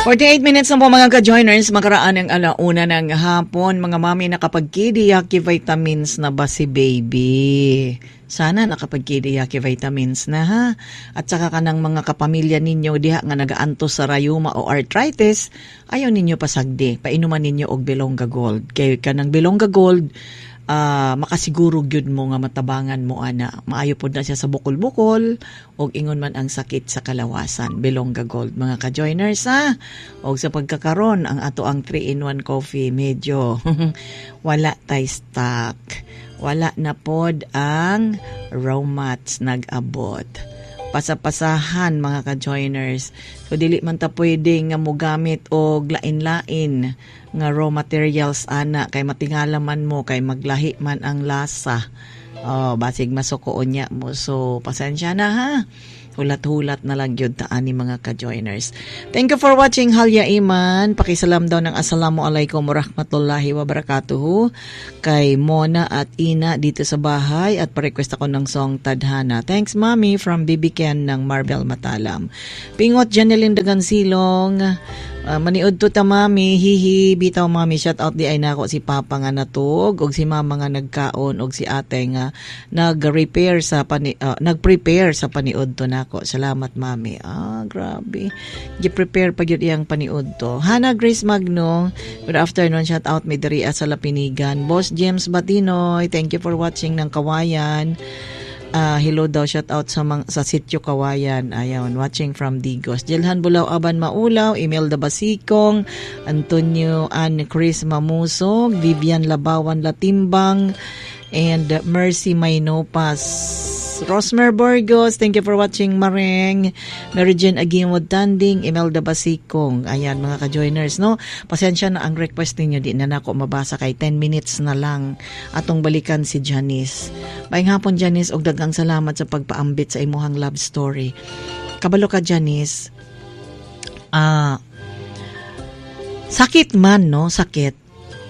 48 minutes na po, mga ka-joiners, makaraan ang 1:00 ng hapon. Mga mami, nakapag-Kidiyaki vitamins na ba si baby? Sana nakapag-Kidiyaki vitamins na ha. At saka kanang mga kapamilya ninyo diha nga nagaantos sa rayuma o arthritis, ayaw ninyo pasagdi. Painuman ninyo og Belongga Gold. Kay kanang Belongga Gold, makasiguro gyud mo nga matabangan mo ana. Maayo pod na siya sa bukol-bukol og ingon man ang sakit sa kalawasan. Belongga Gold, mga ka-joiners, ha. Og sa pagkakaron, ang ato ang 3-in-1 coffee medyo wala tay stock. Wala na pod ang raw mats nag-abot. Pasapasahan, mga ka-joiners. So dili man ta pwede nga mogamit og lain-lain nga raw materials ana kay matingala man mo kay maglahi man ang lasa. Oh, basig masuko unya mo. So pasensya na ha. Hulat-hulat na lang gyud ta ani, mga ka-joiners. Thank you for watching, Halya Iman. Pakisalam daw ng Assalamualaikum warahmatullahi wabarakatuh kay Mona at Ina dito sa bahay at pa-request ako ng song Tadhana. Thanks, Mami, from BB Ken ng Marvel Matalam. Pingot Janeline Dagansilong. Maniud to ta, Mami, hihi, bitaw, Mami, shout out di ay nako si Papa nga natug og si Mama nga nagkaon og si Ate nga nag-repair sa pani nag-prepare sa paniud to nako. Salamat, Mami. Ah, grabe. Gi-prepare pa gyud iyang paniud to. Hana Grace Magno, good afternoon, shout out mi diri sa Lapinigan. Boss James Batinoy, thank you for watching ng Kawayan. Hello daw, shout out sa Sitio Kawayan. Ayaw, watching from Digos. Jelhan Bulaw Aban Maulaw, Imelda Basikong, Antonio Ann Chris Mamusog, Vivian Labawan Latimbang, and Mercy Maynopas. Rosmer Burgos, thank you for watching, Mareng. Mary Jane Agimod Tanding, Imelda Basikong. Ayan, mga ka-joiners, no? Pasensya na ang request ninyo, di na nako mabasa kay 10 minutes na lang atong balikan si Janice. Maayong hapon, Janice, og daghang salamat sa pagpaambit sa imuhang love story. Kabalo ka, Janice, sakit man, no? Sakit.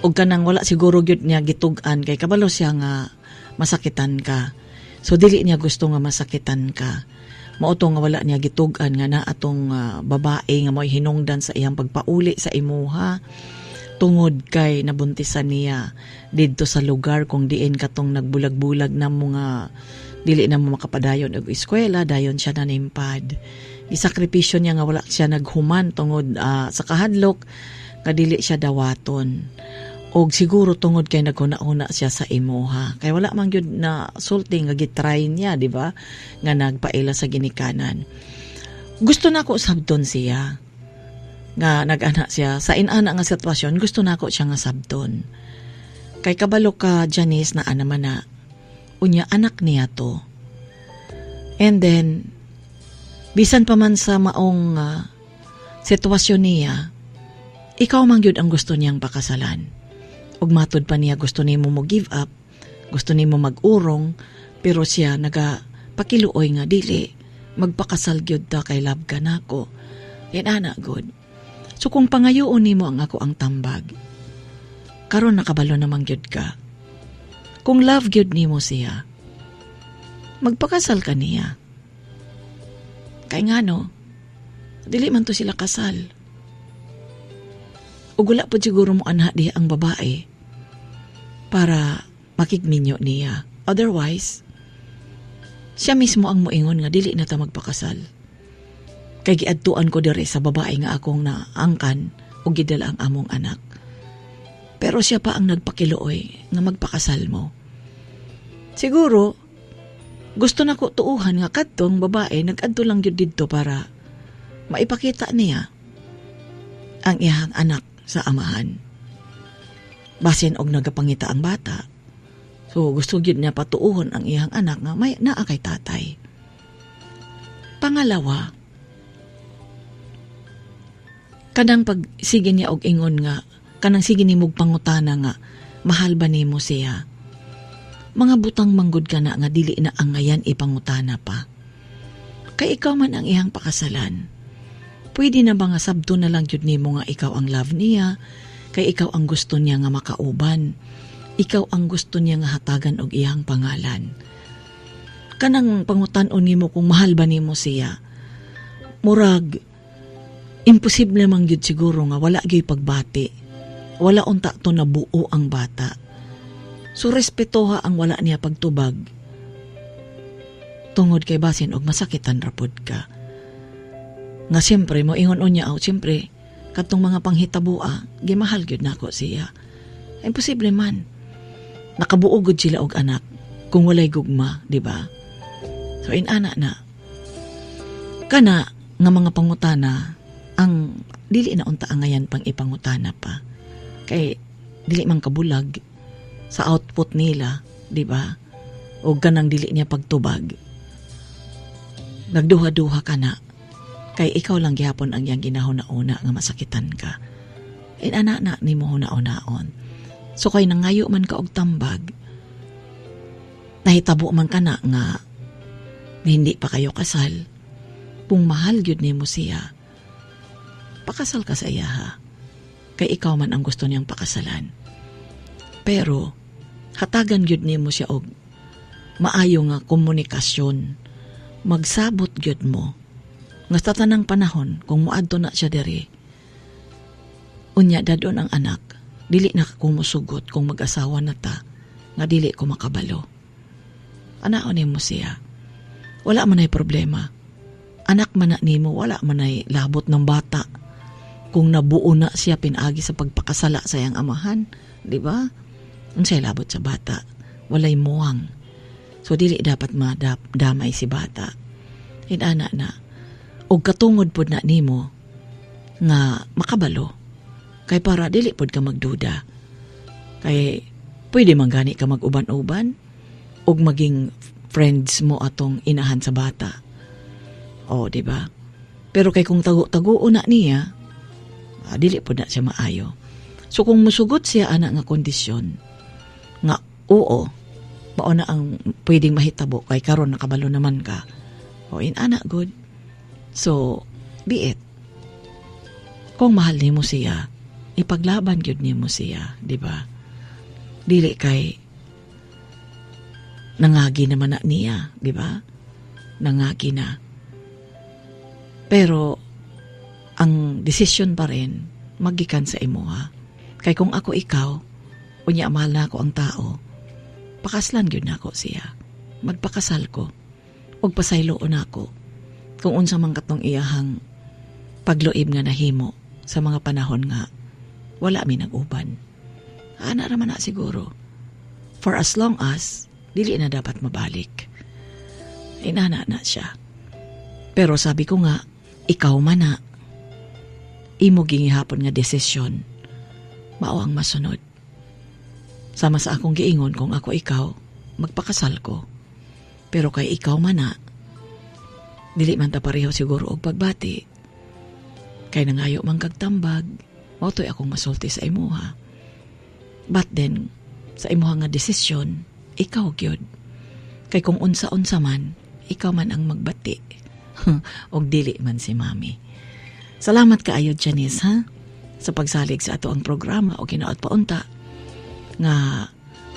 Og kanang wala siguro gyud niya gitug-an kay kabalo siya nga masakitan ka. So dili niya gusto nga masakitan ka. Mao to nga wala niya gitug-an nga na atong babae nga mo'y hinungdan sa iyang pagpauli sa imuha tungod kay nabuntisan niya didto sa lugar kung diin katong nagbulag-bulag na mo nga dili na mo makapadayon og eskwela, dayon siya nanimpad. Gisakripisyo niya nga wala siya naghuman tungod sa kahadlok nga dili siya dawaton. Og siguro tungod kay naghuna-huna siya sa imuha. Kay wala man gyud na sulti nga gitry niya, di ba? Nga nagpaila sa ginikanan. Gusto nako sabton siya. Nga nag-ana siya sa inana nga sitwasyon, gusto nako siya nga sabton. Kay kabalo ka, Janice, na ana man na unya anak niya to. And then bisan pa man sa maong sitwasyon niya, ikaw man gyud ang gusto niyang pakasalan. Ug matud pa niya gusto nimo mo give up, gusto nimo mag-urong, pero siya naga pakiluoy nga dili magpakasal gyud ta kay love ka nako. Yan ana good. So kung pangayoon nimo ang ako ang tambag, karon nakabalo naman gyud ka. Kung love gyud nimo siya, magpakasal ka niya. Kay ngano, dili man to sila kasal. Ug wala po siguro mo anha diha ang babae para makigminyo niya. Otherwise, siya mismo ang moingon nga dili na ta magpakasal. Kay giadtuan ko diri sa babae nga akong naangkan ug gidala ang among anak. Pero siya pa ang nagpakiluoy nga magpakasal mo. Siguro, gusto na ko tuuhan nga kadtong babae nag-adto lang gyud didto para maipakita niya ang iyang anak sa amahan. Basin og nagapangita ang bata. So gusto gyud niya patuuhon ang iyang anak nga may naa kay tatay. Pangalawa, kanang pag sige niya og ingon nga kanang sige nimog pangutana nga mahal ba nimo siya? Mga butang manggod ka na nga dili na angayan ipangutana pa. Kay ikaw man ang iyang pakasalan. Pwede na ba nga sabto na lang jud nimo nga ikaw ang love niya, kay ikaw ang gusto niya nga makauban. Ikaw ang gusto niya nga hatagan og iyang pangalan. Kanang pangutan-on nimo kung mahal ba nimo siya. Murag Imposible man gyud siguro nga wala gyud pagbati. Wala unta to nabuo ang bata. So respetoha ang wala niya pagtubag. Tungod kay basin og masakitan ra pod ka. Nga siyempre mo ingon unya aw siyempre katong mga panghitaboa gimahal gyud nako siya. Imposible man. Nakabuo gud sila og anak kung walay gugma, di ba? So inana na. Kana nga mga pangutana ang dili na unta angayan pang ipangutana pa. Kay dili man kabulag sa output nila, di ba? O ganang dili niya pagtubag. Nagduha-duha ka na. Kay ikaw lang gihapon ang iyang ginahuna-una nga masakitan ka. Inana na nimo huna-unaon. So kay nangayo man ka og tambag, nahitabo man ka na nga hindi pa kayo kasal. Kung mahal gyud nimo siya, pakasal ka sa iya ha. Kay ikaw man ang gusto niyang pakasalan. Pero hatagan gyud nimo siya og maayo nga komunikasyon. Magsabot gyud mo nga sa tanang panahon kung moadto na siya diri, unya dadon ang anak, dili na ko mosugot kung mag-asawa na ta nga dili ko makabalo. Anaon nimo siya. Wala man ay problema. Anak man na nimo, wala man ay labot ng bata. Kung nabuo na siya pinaagi sa pagpakasala sa iyang amahan, di ba? Unsay labot sa bata, walay muwang. So dili dapat madamay si bata. Inana na. Og katungod pod na nimo nga makabalo. Kay para dili pod ka magduda. Kay pwede man gani ka mag-uban-uban og maging friends mo atong inahan sa bata. O, di ba? Pero kay kung tago-tago na niya, dili pod na siya maayo. So kung musugot siya ana nga kondisyon nga oo, mao na ang pwedeng mahitabo kay karon nakabalo naman ka. O inana good. So be it. Kung mahal nimo siya, ipaglaban gyud nimo siya, di ba? Dili kay nangagi naman na niya, di ba? Nangagi na. Pero ang desisyon pa rin magikan sa imuha. Kay kung ako ikaw, unya mahal na ako ang tao, pakaslan gyud nako siya. Magpakasal ko. Og pasayloon nako kung unsa man katong iyahang pagluib nga nahimo sa mga panahon nga wala mi nag-uban. Ana ra man na siguro. For as long as dili na dapat mabalik. Inana na siya. Pero sabi ko nga, ikaw man na imo gingihapon nga desisyon, mao ang masunod. Sama sa akong giingon, kung ako ikaw, magpakasal ko. Pero kay ikaw man na, dili man ta pareho siguro og pagbati. Kay nangayo man kag tambag, mao to'y akong masulti sa imuha. But then, sa imuha nga desisyon, ikaw gyud. Kay kung unsa-unsa man, ikaw man ang magbati. Og dili man si mami. Salamat kaayo, Janice, ha? Sa pagsalig sa ato ang programa o ginaot paunta nga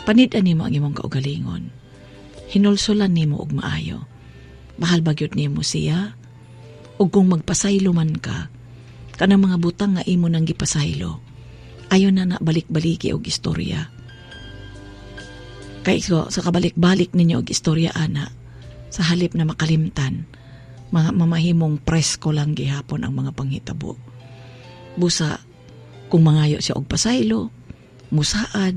panid-an nimo ang imong kaugalingon. Hinulsulan nimo og maayo. Mahal ba gyud nimo siya? Og kung magpasaylo man ka, kanang mga butang nga imo nang gipasaylo, ayo na na balik-baliki og istorya. Kay so, sa kabalik-balik ninyo og istorya ana, sa halip na makalimtan, mga mamahimong presko lang gihapon ang mga panghitabo. Busa, kung mangayo siya og pasaylo, musaad,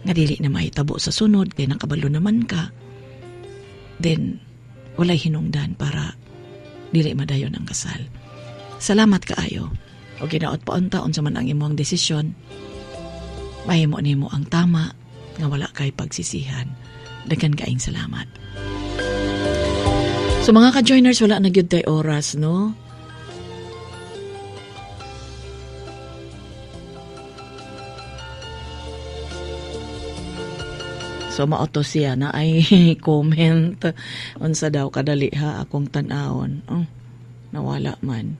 nga dili na mahitabo sa sunod, kay nakabalo naman ka, then walay hinungdan para dili madayon ang kasal. Salamat kaayo. O ginaot pa unta unsa man ang imong desisyon, mahimo nimo ang tama nga wala kay pagsisihan. Daghan kaayong salamat. So mga ka-joiners, wala na gyud tay oras, no? So maoto siya na ay comment. Unsa daw kadali ha akong tan-awon. Oh, nawala man.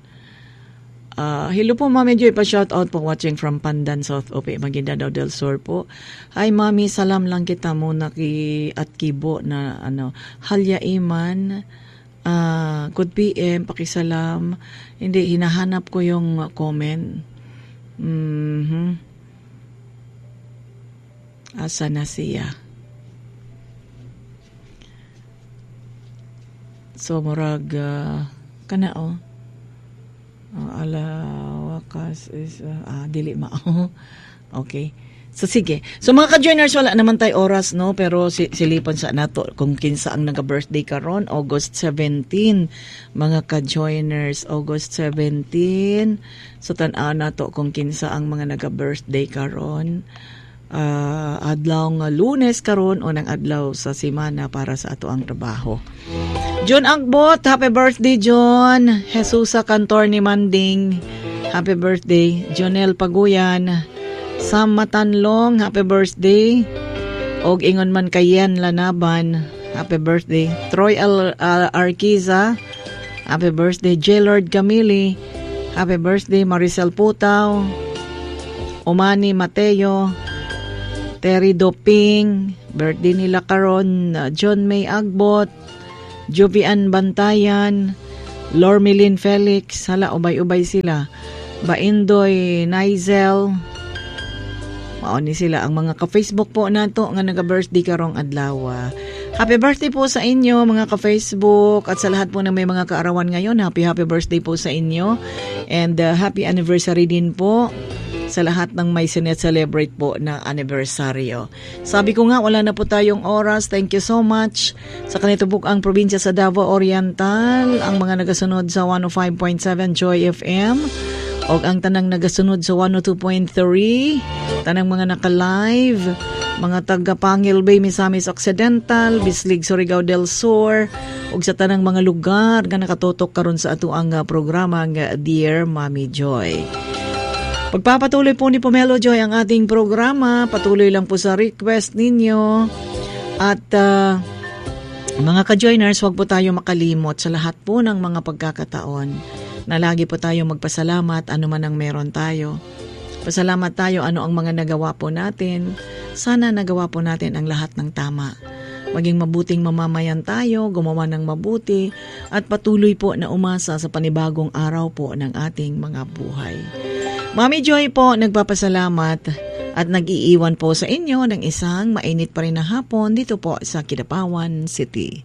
Hello po Mami Joy, pa shout out po watching from Pandan South Ope, Maguindanao del Sur po. Hi Mami, salam lang kita muna ki at kibo na ano, Halya Iman Good PM, pakisalam. Hindi, hinahanap ko yung comment. Asa na siya? So, murag, kana oh. Ala, wakas is, dili mao. Okay. So, sige. So, mga ka-joiners, wala naman tayo oras, no? Pero silipon sa nato kung kinsa ang naga-birthday karon, August 17. Mga ka-joiners, August 17. So, tan-aw nato kung kinsa ang mga naga-birthday karon. Adlaw nga Lunes karon, unang adlaw sa semana para sa ato ang trabaho. John Agbot, happy birthday, John. Jesusa Cantor ni Manding, happy birthday. Jonel Paguyan, Sam Matanlong, happy birthday. Og ingon man kay Yen Lanaban, happy birthday. Troy Arquiza, happy birthday. J. Lord Camili, happy birthday. Maricel Putaw, Omani Mateo, Terry Doping, birthday nila karon. John May Agbot, Jovian Bantayan, Lormelin Felix, hala, ubay-ubay sila. Baindoy Nizel, mao ni sila ang mga ka-Facebook po nato nga naga-birthday karong adlaw. Happy birthday po sa inyo, mga ka-Facebook, at sa lahat po na may mga kaarawan ngayon. Happy happy birthday po sa inyo and happy anniversary din po sa lahat ng may sinet-celebrate po na anibersaryo. Sabi ko nga, wala na po tayong oras. Thank you so much sa kanitubok ang probinsya sa Davao Oriental, ang mga nagasunod sa 105.7 Joy FM, o ang tanang nagasunod sa 102.3, tanang mga naka-live, mga taga Pangil Bay, Misamis Occidental, Bislig, Surigao del Sur, ug sa tanang mga lugar nga nakatutok karon sa ato ang programa nga Dear Mommy Joy. Pagpapatuloy po ni Pomelo Joy ang ating programa, patuloy lang po sa request ninyo. At mga ka-joiners, wag po tayo makalimot sa lahat po ng mga pagkakataon na lagi po tayo magpasalamat ano man ang meron tayo. Pasalamat tayo ano ang mga nagawa po natin. Sana nagawa po natin ang lahat ng tama. Maging mabuting mamamayan tayo, gumawa ng mabuti, at patuloy po na umasa sa panibagong araw po ng ating mga buhay. Mommy Joy po nagpapasalamat at nag-iiwan po sa inyo ng isang mainit pa rin na hapon dito po sa Kidapawan City.